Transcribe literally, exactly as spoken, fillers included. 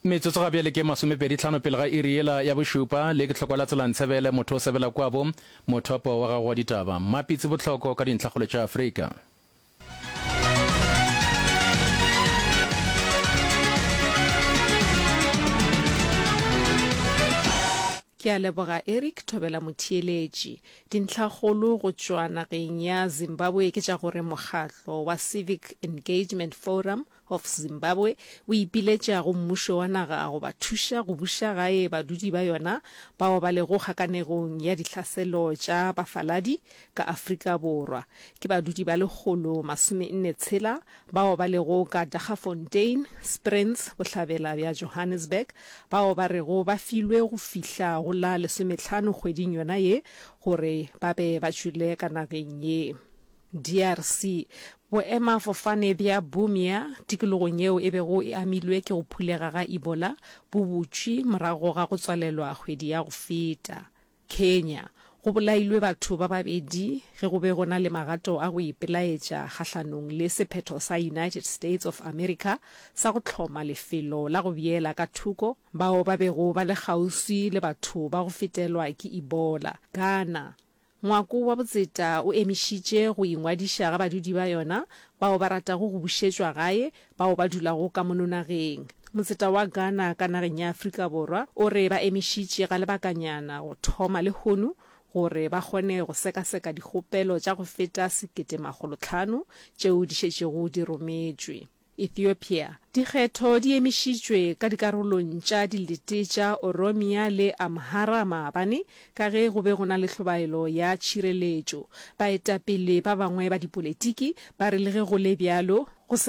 Metsotso ga bjale ke masomepedi tlhano pele ga iri yela ya bošupa. Le ke hlokwa la tsela ntshebele, motho o sebela kwabo, mothopo wa gago wa ditaba. Mmapitsi Bohloko ka dintlhakgolo tša Afrika. Ke a leboga Eric Thobela Motheeletši. Dintlhakgolo go tšwa nageng ya Zimbabwe ke tša gore mokgatlo wa Civic Engagement Forum of Zimbabwe o ipiletša go mmušo wa naga go ba thuša go buša gae badudi ba yona bao ba lego kgakanegong ya dihlaselo tša bafaladi ka Afrika Borwa. Ke badudi ba lekgolo masome nne tshela bao ba lego ka Daggafontein, Springs, bohlabela bja Johannesburg, bao ba rego ba filwe go fihla go la lesomehlano kgweding yona ye gore ba be ba tšwele ka nageng ye. DRC. Boemafofane bja Bunia, tikologong yeo e bego e amilwe ke go phulega ga Ebola, bo butšwe morago ga go tswalelwa kgwedi ya go feta. Kenya, Go bolailwe batho ba babedi ge go be go na le magato a go ipelaetša kgahlanong le sephetho sa United States of America sa go hloma lefelo la go beela ka thoko bao ba bego ba le kgauswi le batho ba go fetelwa ke Ebola. Ghana, Ngwako wa botseta o emišitše go ingwadiša ga badudi ba yona bao ba ratago go bušetšwa gae bao ba dulago ka mono nageng. Motseta wa Ghana ka nageng ya Afrika Borwa o re ba emišitše ga lebakanyana go thoma lehono gore ba kgone go sekaseka dikgopelo tša go feta sekete makgolo hlano tšeo di šetšego di rometšwe. Ethiopia, Dikgetho di emišitšwe ka dikarolong tša dilete tša Oromia le Amhara maabane ka ge go be go na le hlobaelo ya tšhireletšo. Baetapele ba bangwe ba dipolitiki ba re le ge go le bjalo, go se